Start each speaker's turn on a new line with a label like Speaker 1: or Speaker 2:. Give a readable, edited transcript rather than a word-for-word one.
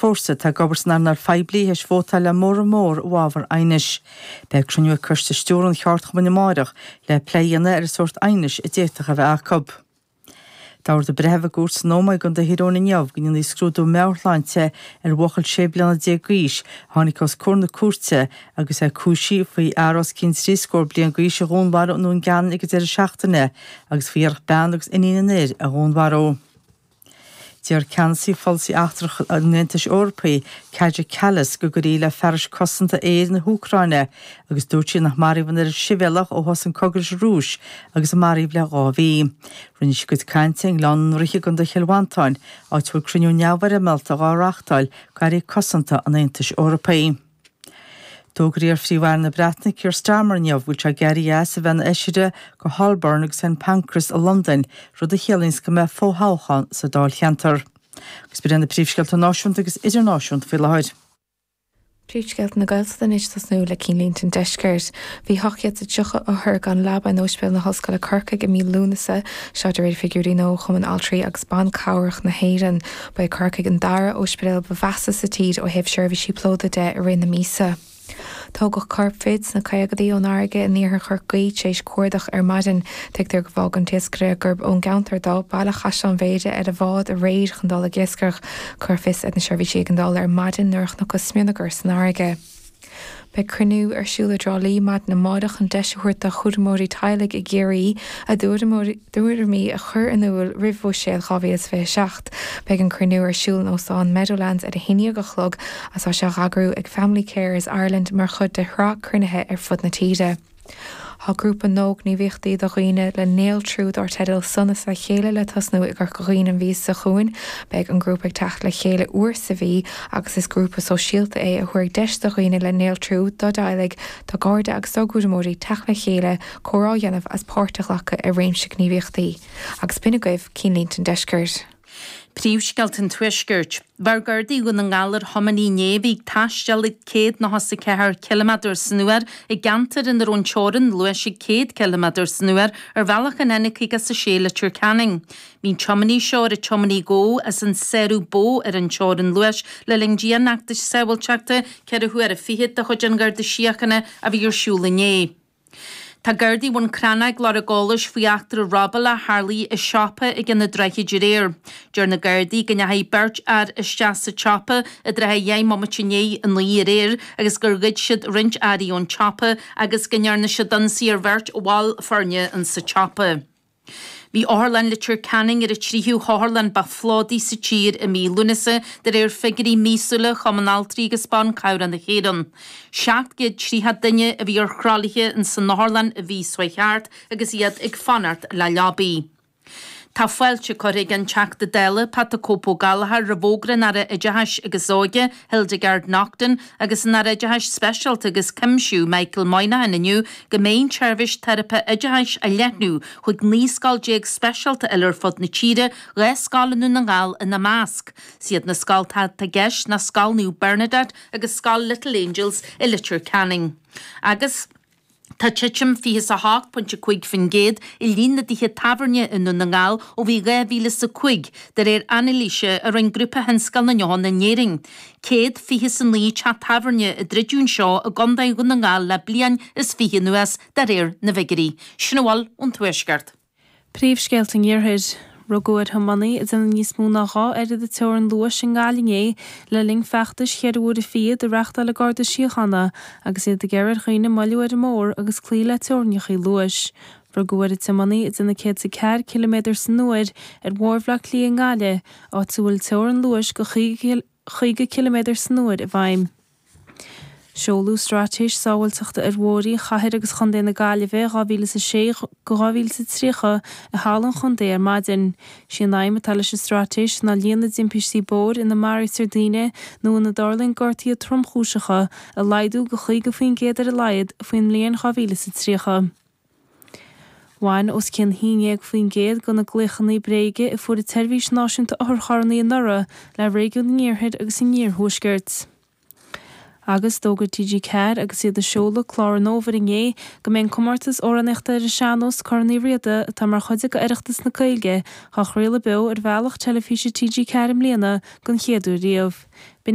Speaker 1: Fórsa atá ag obair san earnáil phoiblí théis vótáil le móramh mór i bhfabhar aighnis. Beidh cruinniú ag Coiste Stiúrtha an Cheardchumainn amáireach le plé a dhéanamh ar an sórt aighnis a d'fhéadfadh a bheith acu. D'ordaigh breitheamh i gcúirt san Ómaigh i gContae Thír Eoghain inniu go ndéanfaí scrúdú meabhairshláinte ar bhuachaill 16 bliana d'aois a tháinig os comhair na cúirte agus é cúisithe faoi fhear os cionn trí scór bliain d'aois a dhúnmharú i nDún Geanainn ag an deireadh seachtaine agus faoi iarracht bean agus iníon an fhir a dhúnmharú. D'iarr ceannasaí pholasaí eachtrach an Aontais Eorpaigh, Kaja Kallas, go gcuirfí le fearais cosanta aeir na hÚcráine agus dúirt sí nach maraíodh an oiread sibhialtach ó thosaigh an cogadh leis an Rúis agus a maraíodh le 2 mhí. Rinne sí a cuid cainte i nGleann an Ríthe i gContae Chill Mhantáin, áit a bhfuil cruinniú neamhfhoirmeálta dhá reáchtáil ag airí cosanta an Aontais Eorpaigh. D'fhógair iar-Phríomh-Aire na Breataine Keir Starmer inniu go bhfuil sé ag éirí as a bheith ina fheisire do Holborn agus St Pancras i Londain, rud a chiallaíonns go mbeidh fo-thoghchán sa dáilcheantar. Agus b'in iad na príomhscéalta náisiúnta agus idirnáisiúnta faoi láthair.
Speaker 2: Príomhscéalta na Gaeltachta anois ag tosnú le cinnlínte an deiscirt. Bhí 830 othar gan leaba in Ospidéal na hOllscoile Corcaigh i mí Lúnasa, seo de réir figiúirí nua ó Chumann Altraí agus Ban Cabhrach na hÉireann. Ba é Corcaigh an dara ospidéal ba mheasa sa tír ó thaobh seirbhísí plódaithe de i rith na míosa. Tógadh corp fir sna caogaidí ón fharraige in iarthar Chorcaí tar éis cuardach ar maidin. Tuigtear gur fhág an t-iascaire, gurb ón gceantar dó, baile Chaisleán Bhéarra ar a bhád aréir chun dul ag iascaireacht. Cuireadh fios ar na seirbhísí éigeandála ar maidin nuair a chonacthas smionagar san fharraige. Beidh cruinniú ar siúl i dTrá Lí maidin amárach chun deis a thabhairt do chúramóirí teaghlaigh i gCiarraí a dtuairimí a chur in iúl roimh Bhuiséad 2027. Beidh an cruinniú ar siúl in Óstán Meadowlands ar a haon déag a chlog agus tá sé á eagrú ag Family Carers Ireland mar chuid de shraith cruinnithe ar fud na tíre. Tá grúpa nua gníomhaíochtaí do dhaoine le néaltrú dar teideal 'Sonas le Chéile' le tosnú i gCorca Dhuibhne an mhí seo chugainn. Beidh an grúpa ag teacht le chéile uair sa mhí agus is grúpa sóisialta é a thabharfaidh deis do dhaoine le néaltrú, dá dteaghlaigh, dá gcairde agus dá gcúramóirí teacht le chéile, comhrá a dhéanamh agus páirt a ghlacadh i réimse gníomhaíochtaí. Agus b'in agaibh Cinnlínte an Deiscirt.
Speaker 3: Príomhscéalta an Tuaiscirt. Bheir Gardaí Dhún na nGall ar thiománaí inné a bhí ag taisteal ag 194 ciliméadar san uair i gceantar ina raibh an teorainn luais ag 100 ciliméadar san uair ar bhealach an N56 Leitir Ceanainn. Bhí an tiománaí seo ar an tiománaí a gabhadh as an sárú ba mhó ar an teorainn luais le linn dianfheachtais sábháilteachta ceithre huaire fichead de chuid an Gharda Síochána a bhí ar siúl inné. Tá Gardaí Bhun Cranncha ag lorg eolais faoi eachtra robála a tharlaigh i siopa ag Ionad Droichid aréir. Deir na Gardaí go ndeachaigh beirt fhear isteach sa tsiopa i dtrátha dheich mbomaite i ndiaidh a 9 aréir agus gur ghoid siad roinnt earraí ón tsiopa agus go ndearna siad ionsaí ar bheirt bhall foirne insa tsiopa. Bhí Otharlann Leitir Ceanainn ar an tríú hotharlann ba phlódaí sa tír i mí Lúnasa de réir figiúirí míosúla Chumann Altraí agus Ban Cabhrach na hÉireann. 730 duine a bhí ar thralaithe ins an otharlann an mhí seo thart agus iad ag fanacht le leabaí. Tá fáilte curtha ag an Teachta Dála Pat 'The Cope Ó Gallchóir roimh fhógra an Aire Oideachais agus Óige, Hildegarde Naughton, agus an Aire Oideachais Speisialta agus Cuimsiú, Michael Moynihan inniu go mbeidh an tseirbhís teiripe oideachais á leathnú chuig 19 scoil speisialta eile ar fud na tíre, 2 scoil i nDún na nGall ina measc. Is iad na scoltacha atá i gceist ná Scoil Naomh Bernadette agus Scoil Little Angels i Leitir Ceanainn. Agus. Tá titim 28.5% i líon na dtithe tábhairne i nDún na nGall ó bhí 2005, de réir anailíse a rinne Grúpa Thionscal na nDeochan in Éirinn. 129 teach tábhairne a druideadh anseo i gContae Dhún na nGall le bliain is fiche anuas, de réir na bhfigiúirí. Sin a bhfuil ón Tuaisceart.
Speaker 4: Príomhscéalta an Iarthair. Rugadh ar thiománaí ag déanamh níos mó ná 2 oiread an teorainn luais i nGaillimh inné le linn feachtais cheithre huaire fichead a reáchtáil an Garda Síochána agus iad ag iarraidh ar dhaoine moilliú ar an mbóthar agus cloí le teorainneacha luais. Rugadh ar an tiománaí ag déanamh 104 ciliméadar san uair ar Bhóthar Bhaile Átha Cliath i nGaillimh, áit a bhfuil teorainn luais de 50 ciliméadar san uair i bhfeidhm. Seoladh Straitéis Sábháilteachta ar Bhóithre Chathair agus Chontae na Gaillimhe 2006-2030 i Halla an Chontae ar maidin. Sí an aidhm atá leis an straitéis ná líon na dtimpistí bóthair ina maraítear daoine nó ina dtarlaíonn gortuithe tromchúiseacha a laghdú go 50% ar a laghad faoin mbliain 2030. Bhain os cionn 11% de na glaochanna bréige a fuair an tSeirbhís Náisiúnta Otharcharranna anuraidh le réigiún an Iarthair agus an Iarthuaiscirt. Agus d'fhógair TG4 agus iad ag seoladh clár an fhómhair inné go mbeidh an comórtas amhránaíochta ar an sean-nós Corn Uí Riada, atá mar chuid de Oireachtas na Gaeilge, á chraoladh beo ar bhealach teilifíse TG4 i mbliana don chéad uair riamh. B'in.